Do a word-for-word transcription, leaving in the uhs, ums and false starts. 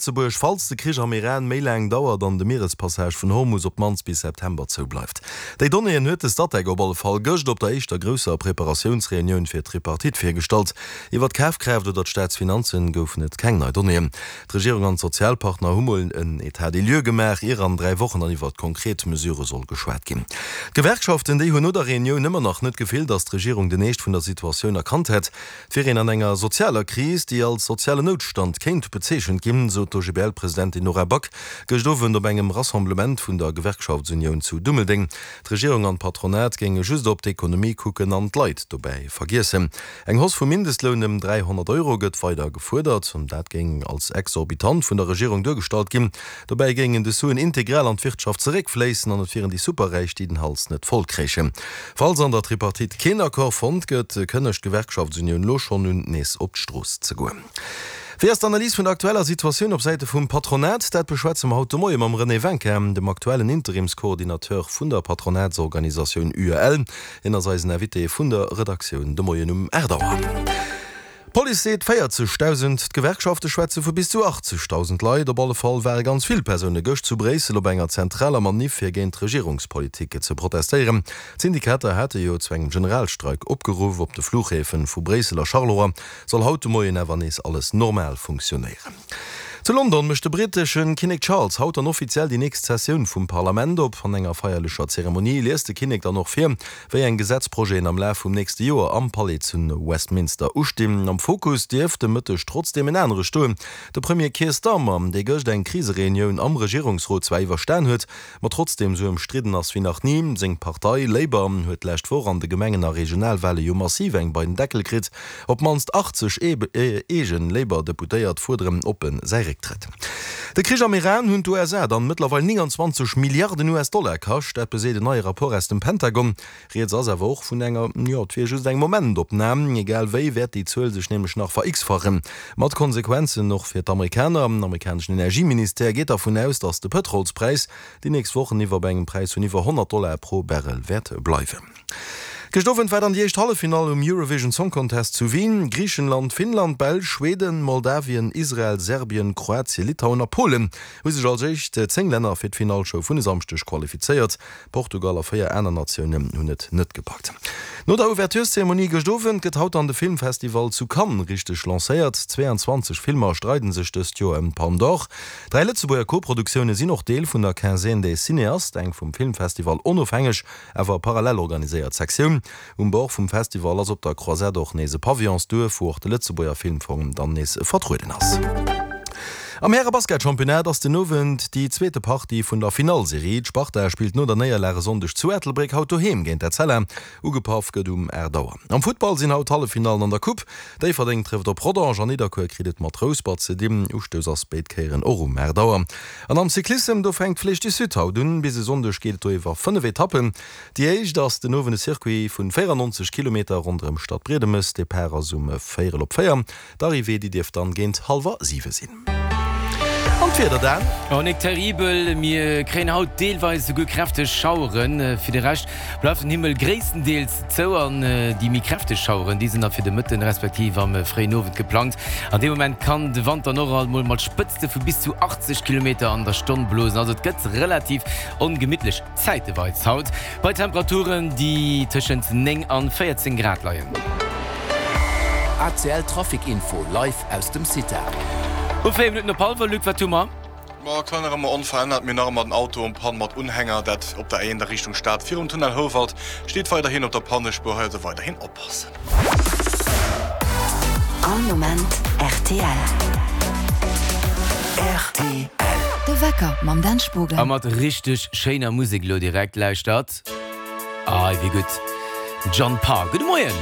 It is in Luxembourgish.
Lëtzebuerg, falls de Krich am Iran méi laang dauert an de Mierespassage vun Hormus op d'mannst bis September zou bleift. Déi Donnéeën huet de Statec op alle Fall gëscht op der éischter grousser Preparatiounsreunioun fir d'Tripartite virgestallt. Iwwer d'Kafkraaft oder d'Staatsfinanzen goufen et keng nei Donnéeën. D'Regierung an d'Sozialpartner hu mol en Etat des lieux gemaach, ier an dräi Wochen dann iwwer konkret Mesurë soll geschwat ginn. D'Gewerkschaften, déi hunn no der Reunioun ëmmer nach net d'Gefill, datt d'Regierung den Eescht vun der Situatioun erkannt hätt. Et wier een an enger sozialer Kris, déi als sozialen Noutstand kéint bezeechent ginn, sot d'OGBL-Presidentin Nora Back gëscht Owend op engem Rassemblement vun der Gewerkschaftsunioun zu Dummeldeng. D'Regierung an d'Patronat géinge just op d'Ekonomie kucken an d'Leit dobäi vergiessen. Eng Hausse vum Mindestloun ëm dräihonnert Euro gëtt weider gefuerdert. Dat géing als exorbitant vun der Regierung duergestallt ginn. Dobäi géingen des Suen integral an d'Wirtschaft zeréckfléissen an et wieren déi Superräich, déi den Hals net voll kréichen. Falls an der Tripartite keen Accord fonnt gëtt, kënnegt d'Gewerkschaftsunioun elo schonn un, nees op d'Strooss ze goen. Wéi ass d'Analys vun der aktueller Situatioun op Säite vum Patronat? Dat beschwätze mer haut de Moie mam René Wencker, dem aktuellen Interimscoordinateur vun der Patronatsorganisatioun UEL. Hien ass eisen Invité vun der Redaktioun de Moien um aacht Auer. D'Police seet véierzegdausend, d'Gewerkschafte schwätze vu bis zu achtzegdausend Leit. Op alle Fall ware ganz vill Persoune gëscht zu Bréissel op enger zentraler Maniff fir géint d'Regierungspolitik ze protestéieren. D'Syndikater hate jo zu engem Generalstreik opgeruff. Op de Fluchhäfe vu Bréissel a Charleroi soll haut de Moien awer nees alles normal funktionéieren. Zu London mécht de brittesche Kinnek Charles haut dann offiziell déi nächst Sessioun vum Parlament op. An enger feierlecher Zeremonie liest de Kinnek dann och vir, wéi eng Gesetzprojeten am Laf vum nächste Joer am Palais zu Westminster ustinn. Am Fokus dierft de Mëtteg trotzdeem en anere stoen, de Premier Keir Starmer, dee gëscht eng Krisereunioun am Regierungsrot zwar iwwerstan huet, ma trotzdeem esou ëmstridden ass wéi nach ni. Seng Partei Labour huet d'lescht Woch an de Gemengen a Regionalwale jo massiv eng bei den Deckel kritt. Op d'mannst achtzeg eegen Labour-Deputéiert fuerderen oppen säi Récktrëtt. De Krich am Iran hunn d'USA dann mëttlerweil nénganzwanzeg Milliarden US-Dollar kascht. Dat beseet en neie Rapport aus dem Pentagon. Rieds ass awer och vun enger, jo, et wier just eng Momentopnam. Egal wéi wäert déi Zuel sech nämlech nach ver-x-fachen. Mat Konsequenzen och fir d'Amerikaner. Den amerikaneschen Energieministère geet dervun aus, datt de Pëtrolspräis déi nächst Wochen iwwer bei engem Präis vun iwwer honnert Dollar pro Barrel wäert bleiwen. Gëscht Owend war dann déi éischt Halleffinall um Eurovision Song Contest zu Wien. Griichenland, Finnland, Belsch, Schweden, Moldawien, Israel, Serbien, Kroatien, Litauen a Polen hu sech als éischt zéng Länner fir d'Finallshow vun e Samschdeg qualifizéiert. Portugal a véier aner Natiounen hunn et net gepackt. No der Ouvertureszeremonie gëscht Owend gëtt haut dann de Filmfestival zu Cannes richteg lancéiert. zweeanzwanzeg Filmer streiden sech dëst Joer ëm d'Palme d'Or. Dräi Lëtzebuerger Koproduktioune sinn och Deel vun der Quinzaine des Cinéastes, eng vum Filmfestival onofhängeg, awer parallel organiséiert Sektioun. Um Bord vum Festival ass op der Croisette och nees e Pavillonsduerf, wou och de Lëtzebuerger Filmfong dann nees vertrueden ass. Am Häre-Basketchampionnat ass den Owend déi zweete Partie vun der Finallserie. D'Sparta spillt no der Néierlag e Sonndeg zu Ettelbréck haut doheem géint Etzella. Ugepaff gëtt um aacht Auer. Am Futtball sinn haut d'Halleffinallen an der Coupe. Déifferdeng trëfft op Rodange an Nidderkuer kritt et mat Rouspert ze dinn. Ustouss ass béid Kéieren och um aacht Auer. An am Cyclissem, do fänkt d'Flèche du Sud haut un. Bis e Sonndeg geet et do iwwer fënnef Etappen. Déi éischt ass den Owend e Circuit vun véierannonzeg Kilometer ronderëm Stadbriedemes. Depart ass um véierel op véier. D'Arrivée, déi dierft dann géint hallwer siwe sinn. An d'Wieder dann? Oh, nik terribel, mir kréien haut deelweis esouguer kräfteg Schaueren. Fir de Rescht bleift den Himmel gréisstendeels zou an déi méi kräfteg Schaueren, déi sinn da fir de Mëtten respektiv am fréien Owend geplangt. An deem Moment kann de Wand dann och alt mol mat Spëtzte vu bis zu achtzeg Kilometer an der Stonn blosen. Also et gëtt relativ ongemittlech zäiteweis haut, bei Temperaturen, déi tëschent néng an véierzéng Grad leien. A C L Trafic Info live aus dem CITA. Um véier Minutten op hallwer, Luc, wat hu mer? Ma aktuell nach ëmmer onverännert. Mir hunn nach ëmmer den Auto en panne mat Unhänger, dat op der A eent a Richtung Stad virum Tunnel Houwald. Steet weiderhin op der Pannespuer, hei also weiderhin oppassen. All Moment rtl. Rtl. De Wecker mam Dan A Spogen. mat richteg schéiner Musek elo direkt. Lauschtert. Ai, wéi gutt. John Parr. Gudde Moien.